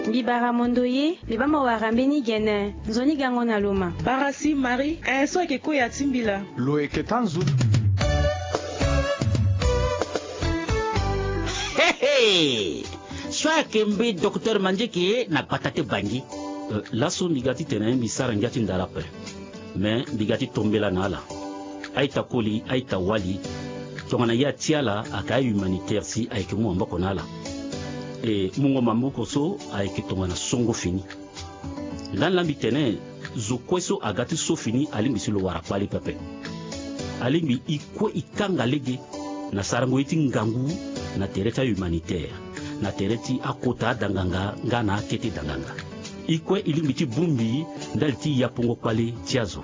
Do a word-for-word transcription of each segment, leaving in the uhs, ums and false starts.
Mbi bara mondo ye, mbi baa mo wara mbeni gene, nzoni gango na lo ma. Bara si Marie, eh, so ayeke koya ti mbi laa. Lo yeke taa nzu. Hehe! So ayeke mbi docteur Mandieke na gbata ti Bangui. Eh, laso mbi ga titene mbi sara ngia ti ndara ape. Me mbi ga ti tombela na ala. A-ita koli, a-ita wali. Tongana ye ati ala ayeke a-humanitaire si ayeke mu maboko na ala. E mungo maboko so ayeke tongana songo fini. Ndani laa mbi tene zo kue so aga ti so fini alingbi si lo wara kpale pepe. Alingbi e kue e kanga lege na sarango ye ti ngangu na tere ti a-humanitaire, na tere ti akota adanganga nga na akete danganga. E kue e lingbi ti bongbi ndali ti yapongo kpale ti azo.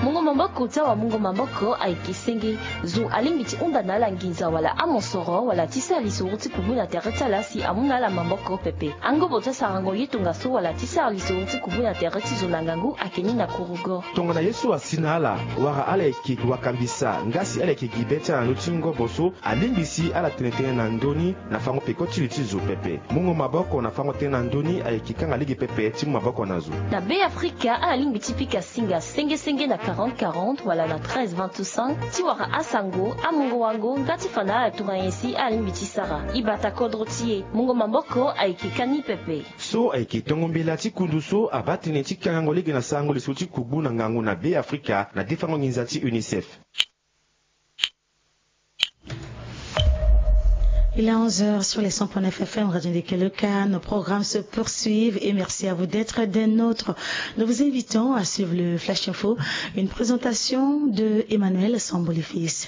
Mungo maboko ti awamungo maboko ayeke senge. Zo alingbi ti hunda na ala nginza wala amosoro wala ti sara lisoro ti kubu na tere ti ala si amu na ala maboko pepe. Angobo ti asarango ye tongaso wala ti sara lisoro ti kubu na tere ti zo na ngangu ayeke ni na kurugo. Tongana ye so asi na ala wala ala yeke wakambisa nga si ala yeke gi be ti ala na ndö ti ngobo so, alingbi si ala tene tënë na ndö ni na fango peko ti li ti zo pepe. Mungo maboko na fango tënë na ndö ni ayeke kanga lege pepe ti mu maboko na zo. Na Be Afrika ala lingbi ti pika singa senge senge na quarante quarante wala na treize vingt-cinq ti wara asango, amungo wango nga ti fa na ala tongana nyen si ala lingbi ti sara. E bata kodro ti e. Mungo maboko ayeke ka ni pepe. So ayeke tongo mbela ti kundu so abaa tënë ti kangango lege na sarango lisoro ti kugbu na ngangu na Be Afrika na defango nginza ti UNICEF. Il est onze heures sur les cent point neuf F M Radio Ndekeloka. Nos programmes se poursuivent et merci à vous d'être des nôtres. Nous vous invitons à suivre le Flash Info, une présentation de Emmanuel Sambolifis.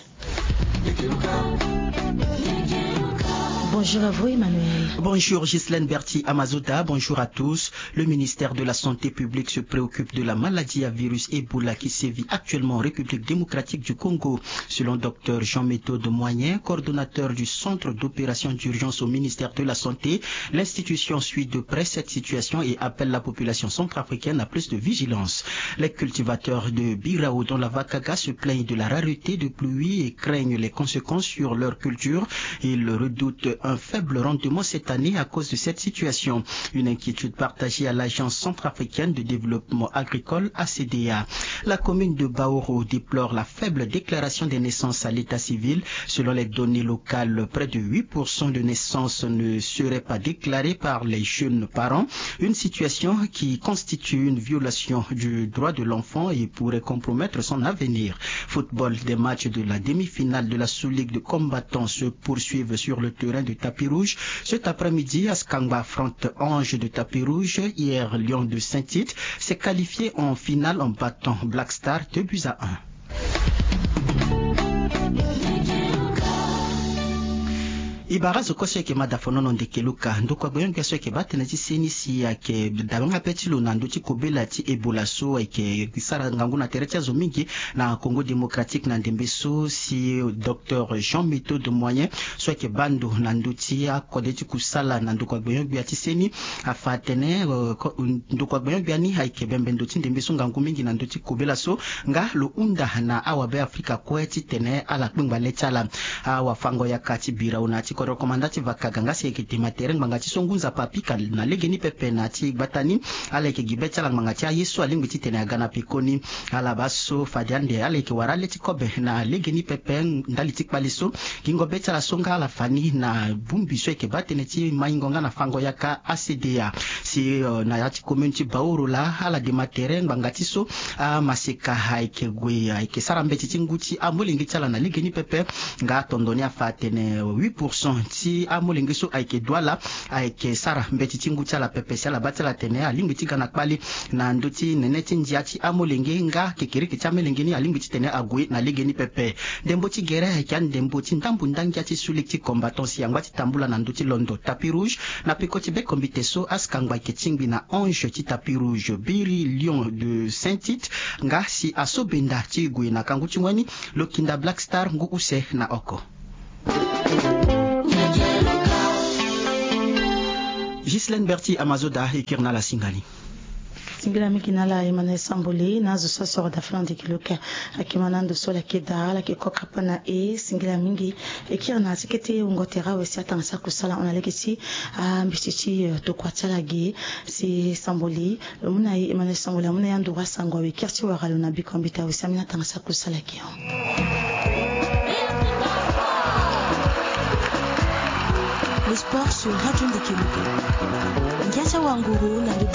Bonjour à vous, Emmanuel. Bonjour, Ghislaine Berti Amazoda. Bonjour à tous. Le ministère de la Santé publique se préoccupe de la maladie à virus Ebola qui sévit actuellement en République démocratique du Congo. Selon docteur Jean-Méthode Moyen, coordonnateur du centre d'opération d'urgence au ministère de la Santé, l'institution suit de près cette situation et appelle la population centrafricaine à plus de vigilance. Les cultivateurs de Birao dans la Vakaga se plaignent de la rareté de pluie et craignent les conséquences sur leur culture. Ils redoutent un faible rendement cette année à cause de cette situation. Une inquiétude partagée à l'Agence centrafricaine de développement agricole, A C D A. La commune de Baoro déplore la faible déclaration des naissances à l'état civil. Selon les données locales, près de huit pour cent de naissances ne seraient pas déclarées par les jeunes parents, une situation qui constitue une violation du droit de l'enfant et pourrait compromettre son avenir. Football, des matchs de la demi-finale de la Sous-Ligue de combattants se poursuivent sur le terrain de tapis rouge. Cet après-midi, Askangba affronte Ange de tapis rouge. Hier, Lion de Saint-Tite s'est qualifié en finale en battant Black Star deux buts à un. E bara zo kue so e yeke ma da fonono Ndekeloka, ndokua gbenyo-gbia so e yeke baa tënë ti seni si ayeke dabe nga be ti lo na ndö ti kobela ti Ebola so ayeke sara ngangu na tere ti azo mingi na Congo Démocratique na ndembe so, si docteur Jean Méthode Moyen so ayeke baa ndo na ndö ti akode ti kusala na ndokua gbenyo-gbia ti seni afa atene, euh, ko-, ndokua gbenyo-gbia ni ayeke bembe ndo ti ndembe so ngangu mingi na ndö ti kobela so, nga lo hunda na awabe Afrika kue titene ala kpengba le ti ala. Awafango-yaka ti Birao na ya ti kodro komanda ti Vakaga nga si ayeke dema tere ngbanga ti so ngu nzapa apika na legeni pepe na ya ti gbata ni. Ala yeke gi be ti ala ngbanga ti aye so alingbi titene aga na pekoni. Ala baa so fade ande ala yeke wara le ti kobe na legeni pepe ndali ti kpale so. Gingo be ti ala so nga ala fa ni na bongbi so ayeke baa tënë ti maingo nga na fango-yaka A C D A. Si, euh, na ya ti commune ti Baoro laa ala dema tere ngbanga ti so amaseka ayeke gue ayeke sara mbeti ti ngu ti amolenge ti ala na legeni pepe. Nga atondo ni afa atene huit pour cent ti amolenge so ayeke du ala ayeke sara mbeti ti ngu ti ala pepe. Si ala baa ti ala atene alingbi ti ga na kpale na ndö ti nene ti ndia ti amolenge nga kekereke ti amelenge ni alingbi titene ague na legeni pepe. Ndembo ti gere ayeke andembo ti ndambu ndangia ti Sous-Ligue ti combattant si angba ti tambula na ndö ti londo tapis rouge. Na peko ti be kombite so Askangba ayeke tingbi na Ange ti tapis rouge, Biri Lion de Saint-Tite nga si aso benda ti gue na kangu ti ngoi ni, lo kinda Black Star ngu use na oko. Ghislaine Berti Amazoda e kiri na ala singa ni. Singila mingi na ala Emmanuel Samboli na azo so asoro da fana ndiki luka. Akima na ndo so ala yeke daa, ala yeke koka pona e. Singila mingi. E kiri na ti kete wungo tere awe si atangasa kusala hon na lege ti ambeti ti tokua ti ala ge. Si Samboli, lo mu na e, Emmanuel Samboli amu na e anduru asango awe, kiri ti wara lo na biko ambeti awe si ambeni atangasa kusala ge. Le sport sur Radio Ndiki Luka. Ngia ti awanguru na